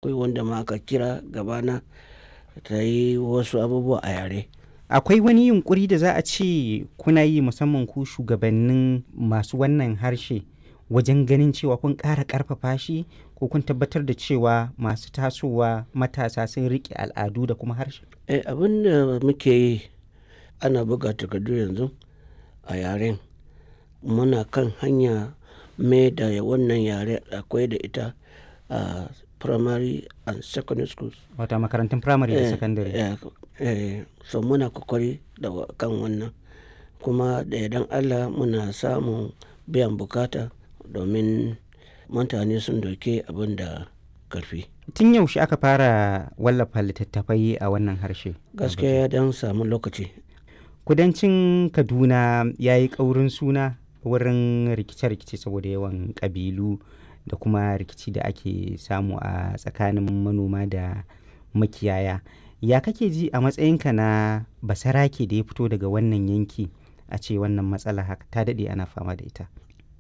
Akwai wanda ma aka kira gabana ta yi wasu abubuwa a yare. Akwai wani yunƙuri da za a ce kuna yi musamman ku shugabannin masu wannan harshe wajen ganin cewa kun ƙara ƙarfafa shi ko kun tabbatar da cewa masu tasowa matasa sun riƙe al'adu da kuma harshe? Eh, abin da muke yi ana buga takardu yanzu a yaren. Muna kan hanya mai da wannan yare akwai da ita a primary and secondary schools. Wato a makarantun firamare da Eh, sakandare. eh, eh, so muna kokari da kan wannan. Kuma da yardan Allah muna samun biyan bukata domin mutane sun dauki abin da ƙarfi. Tun yaushe aka fara wallafa littattafai a wannan harshe? Gaskiya ya dan samu lokaci. Kudancin Kaduna ya yi ƙaurin suna wurin rikice-rikice saboda yawan ƙabilu da kuma rikici da ake samu a tsakanin manoma da makiyaya. Ya kake ji a matsayinka na basarake da ya fito daga wannan yanki a ce wannan matsala haka ta daɗe ana fama da ita?